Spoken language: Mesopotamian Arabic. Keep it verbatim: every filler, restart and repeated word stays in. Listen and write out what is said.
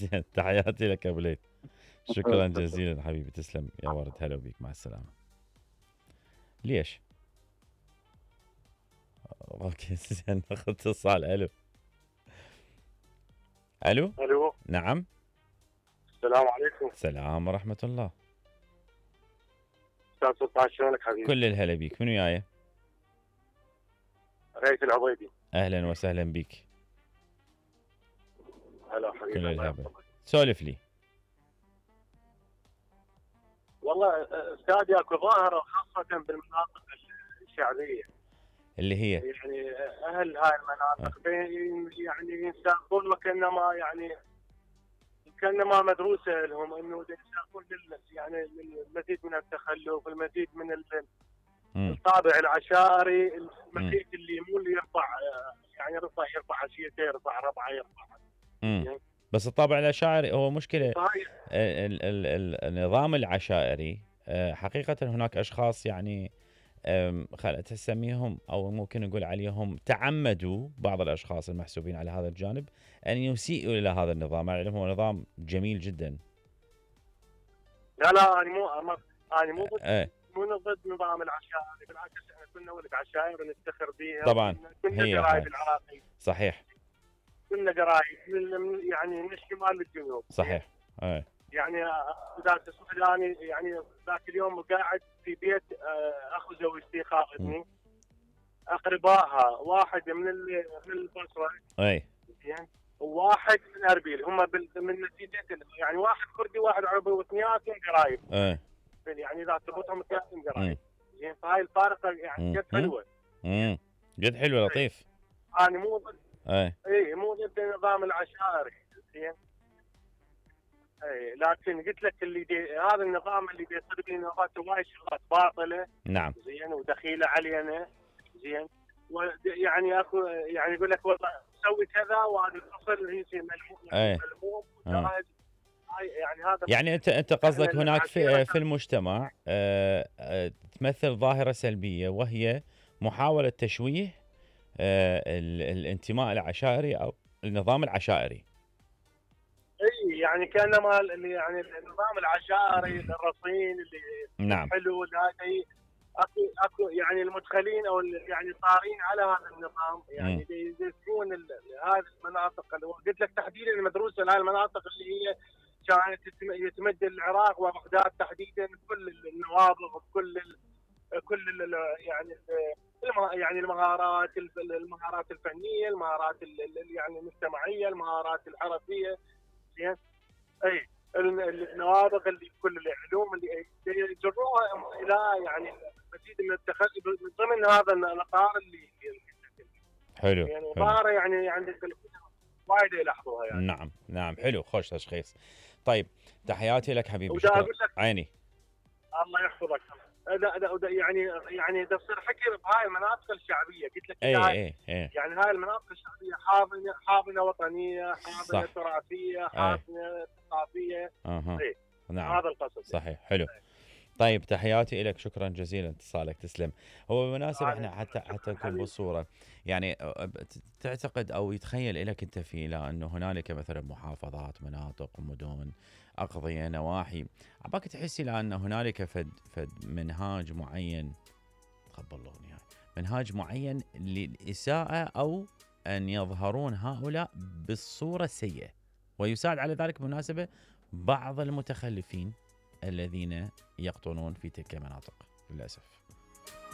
زين تحياتي لك ابو ليث. شكرا جزيلا حبيبي تسلم يا ورد. هلا بيك مع السلامه. ليش؟ اوكي زين ناخذ اتصال. الو الو الو نعم. السلام عليكم. السلام ورحمه الله. استاذ سلطان شلونك حبيبي؟ كل الهلا بيك. منو وياي؟ ريث العبيدي. اهلا وسهلا بيك. هلا حبيبي. كل الهلا. سولف لي. والله استاذي اكو ظاهره خاصه بالمناطق الشعبيه اللي هي يعني اهل هاي المناطق أه. يعني ينساقون وكانما يعني كانما مدروسه لهم انه ينساقون يعني المزيد من التخلف، المزيد من الطابع العشائري، المزيد اللي مو اللي يرفع يعني يرفع يرفع عشيته يرفع ربعه يرفع يعني بس الطابع العشائري هو مشكله. ال ال ال النظام العشائري حقيقه هناك اشخاص يعني خلت تسميهم او ممكن نقول عليهم تعمدوا، بعض الاشخاص المحسوبين على هذا الجانب ان يسيئوا الى هذا النظام، مع انه هو نظام جميل جدا. لا لا انا مو انا مو ضد اه. مو ضد نظام العشائري، بالعكس احنا كنا ولد عشائر ونفتخر بها. طبعا كنا قرايب العراقي. صحيح. كنا قرايب يعني من الشمال للجنوب. صحيح. اه. يعني اذا تسمح لي يعني ذاك اليوم قاعد في بيت اخو زوجتي خاطبني، اقربائها واحد من من البصره اي يعني وواحد من اربيل، هم من نتيجه يعني واحد كردي واحد عربي واثنيناتهم قرايب. اي يعني اذا تربطهم اثنيناتهم قرايب. زين فهاي الفارقه يعني جد حلوه. امم جد حلوه لطيف. انا مو ضد اي اي مو ضد النظام العشائري زين. اي لكن قلت لك اللي دي هذا النظام اللي بيصير به نظام وايد شغلات باطله. نعم. زين ودخيله علينا. زين يعني اكو يعني يقول لك والله سوي كذا وهذا الفصل هي ملموم ملموم. يعني هذا يعني انت انت قصدك هناك في في المجتمع اه اه تمثل ظاهره سلبيه، وهي محاوله تشويه اه الانتماء العشائري او النظام العشائري. اي يعني كانما يعني النظام العشائري الرصين اللي نعم. حلو هذا اكو اكو يعني المدخلين او يعني صارين على هذا النظام يعني يدرسون هذه المناطق اللي قلت لك تحديدا المدروسه لهذه المناطق اللي هي كانت يتمد العراق وبغداد تحديدا كل النوابغ بكل ال كل ال يعني ال يعني المهارات المهارات الفنيه، المهارات يعني المجتمعيه، المهارات الحرفيه. زين اي النوابغ اللي كل العلوم اللي يجروها الى يعني مزيد من التخلف ضمن هذا الاطار اللي حلو يعني ظاهره يعني عندك وايد يلاحظوها يعني. نعم نعم حلو خوش تشخيص. طيب تحياتي لك حبيبي. شكرا عيني. الله يحفظك. لا لا يعني يعني ده تصير حكي بهاي المناطق الشعبيه قلت لك اي اي اي يعني هاي المناطق الشعبيه حاضنه حاضنه وطنيه، حاضنه تراثيه، حاضنه ثقافيه. اها إيه. نعم هذا القصد. صحيح حلو. طيب تحياتي لك. شكرا جزيلا اتصالك تسلم. هو بالمناسبة احنا حتى حتى نكون بالصورة يعني تعتقد او يتخيل لك انت في لا انه هنالك مثلا محافظات مناطق مدن اقضية نواحي عباك تحسي لان هنالك فد فد منهاج معين تقبلوني يعني منهاج معين للإساءة او ان يظهرون هؤلاء بالصورة السيئة، ويساعد على ذلك بالمناسبة بعض المتخلفين الذين يقطنون في تلك المناطق للأسف.